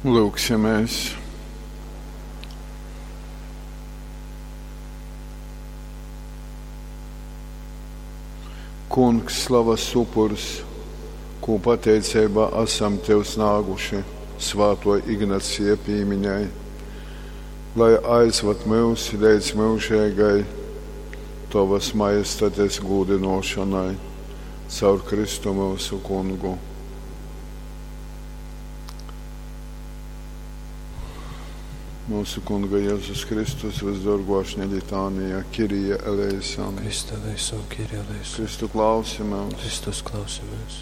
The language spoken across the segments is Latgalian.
Lūksimies. Kungs, slavas upurs, kū pateiceibā asam Tev snāguši svāto Ignacija pīmiņai, lai aizvad myus leidz myužeigai Tovas majestates gūdynōšonai caur Kristu myusu Kungu. Mūsu Kunga Jēzus Kristus visdorgo ašņa litānija, Kirija eleison. Christe eleison, Kyrie eleison. Kristu klausi mūs. Kristus klausimies.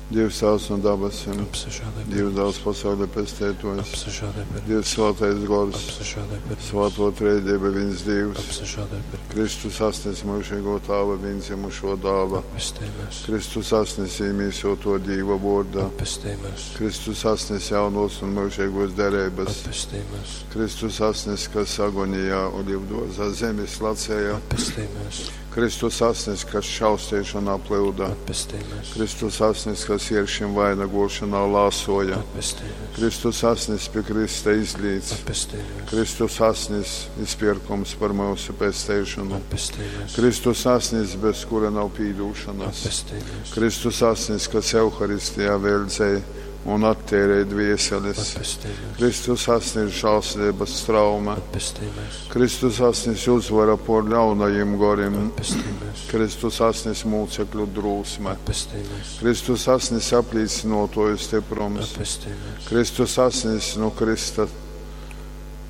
Dievs Tēvs no dabasim, Apsažālē par Dievs mums. Dēls pasaules pestētojs, Apsažālē par mums. Dievs Svētais Gors, Apsažālē par mums. Svēto Trejdieva viens Dievs, Apsažālē par mums. Kristus asnis mūžīgo Tāva viendzimušo dāla, Atpestī mūs. Kristus asnis īmīsoto Dīva vorda, Atpestī mūs. Kristus asnis jaunos un mūžīgos derības, Atpestī mūs. Kristus asnis, kas agonijā olivdozā zemes lacēja, Atpestī mūs. Kristus asnis, kas šaustīšanā plūda, Atpestī mūs. Kristus asnis, kas ieršim vainagošanā lāsoja, Atpestī mūs. Kristus asnis pie Krista izlīdz, Atpestī mūs. Kristus asnis izpirkums par mūsu pesteišanu, Atpestī mūs. Kristus asnis, bez kura nav pīdūšanas, Atpestī mūs. Kristus asnis, kas Euharistijā veldzēja un attērēja dvieseles, Atpestī mūs. Kristus asnis žālsirdības strauma, Atpestī mūs. Kristus asnis uzvara por ļaunajiem gorim, Atpestī mūs. Kristus asnis mūcekļu drūsme, Atpestī mūs. Kristus asnis aplīcinotoju stiprums, Atpestī mūs. Kristus asnis no Krista,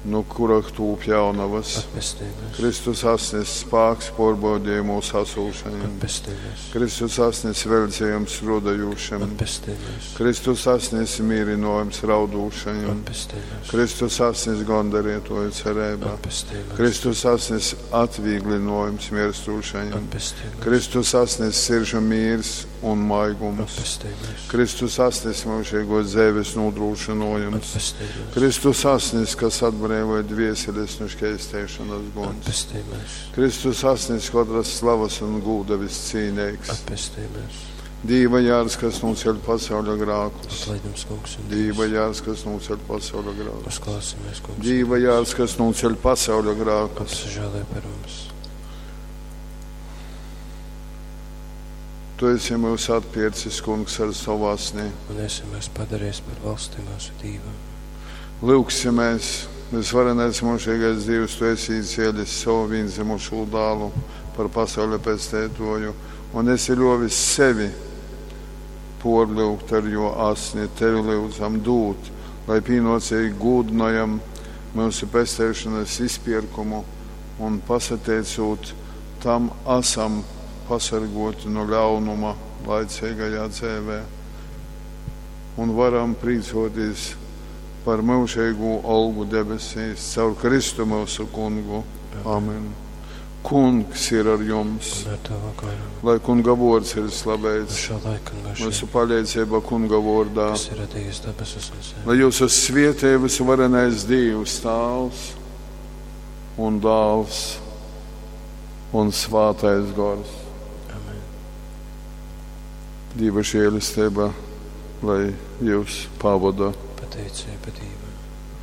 no kura tūp jaunavas, Atpestī mūs. Kristus asnis spāks porbaudījumos asūšajiem, Atpestī mūs. Kristus asnis veldzējums rodajūšiem, Atpestī mūs. Kristus asnis mīrinojums raudūšajiem, Atpestī mūs. Kristus asnis gondarietoju cerībā, Atpestī mūs. Kristus asnis atvieglinojums mirstūšajiem, Atpestī mūs. Kristus asnis siržu mīrs un maigums, Atpestī mūs. Kristus asnis mūžīgos dzīves nodrošinojums, Atpestī mūs. Kristus asnis, kas atbrīvoja dvieseles no šķēstēšanas guns, Atpestī mūs. Kristus asnis katras slavas un gūda viscīnīgs, Atpestī mūs. Dīva jārs, kas noceļ pasauļa grākus, Atlaid mums, kungs, un Dīva Dievs. jārs, kas noceļ pasauļa grākus, Uzklausimies, kungs. un Dīva Dievs. jārs, kas noceļ pasauļa grākus. Apsažālē par mums. Tu esi mūs atpircis, kungs, ar savu asni. Un esi mūs padarījis par valsti mūsu Dievam. Lūgsimies, visvarenais mūžīgais Dievs, Tu esi izcēlis savu vienzimušo dālu par pasaules pestētoju, un esi ļovis sevi porlūgt ar jo asni, Tevi lūdzam dūt, lai pienocīgi gūdinojam mūsu pestēšanas izpirkumu un pasateicot tam esam pasargoti no ļaunuma laicīgajā dzīvē un varam prīcoties par mūžīgo algu debesīs caur Kristu mūsu kungu. Amen. Kungs ir ar jums, Un ar tavu garu. lai kunga vārds ir No slavēts, šā laika un mūžiem, mūsu palīdzība kunga vārdā. kas ir radījis debesis un zemi. Lai jūs svietē visvarenais Dievs, Tāvs un Dāls un Svātais Gors. Amen. Dieva žēlastība, lai jūs pavada. Pateicība Dievam.